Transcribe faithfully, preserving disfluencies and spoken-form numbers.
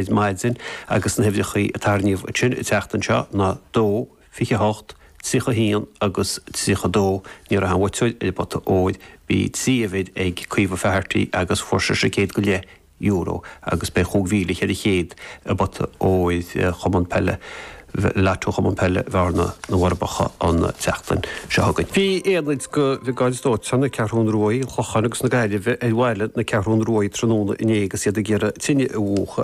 Maidin agus na huimhreacha a tarraingíodh ansin an tseachtain seo ná dó, fiche hocht, tríocha haon agus tríocha dó. Ní raibh aon bhuaiteoir ar an bpota óir. Bhí trí uimhir ag Caoimhe Faherty agus fuair sise céad go leith euro agus beidh chúig mhíle cheithre chéad i bpota óir Chumann Peile Lotto Chumann Peile Bhearna, na bhForbacha an tseachtain seo chugainn. Bhí aonaid de Bhriogáid Dóiteáin na Ceathrún Ruaidh, an Chlocháin agus na Gaillimhe ar bhaile na Ceathrún Ruaidh tráthnóna inné agus iad ag iarraidh tine a mhúchadh.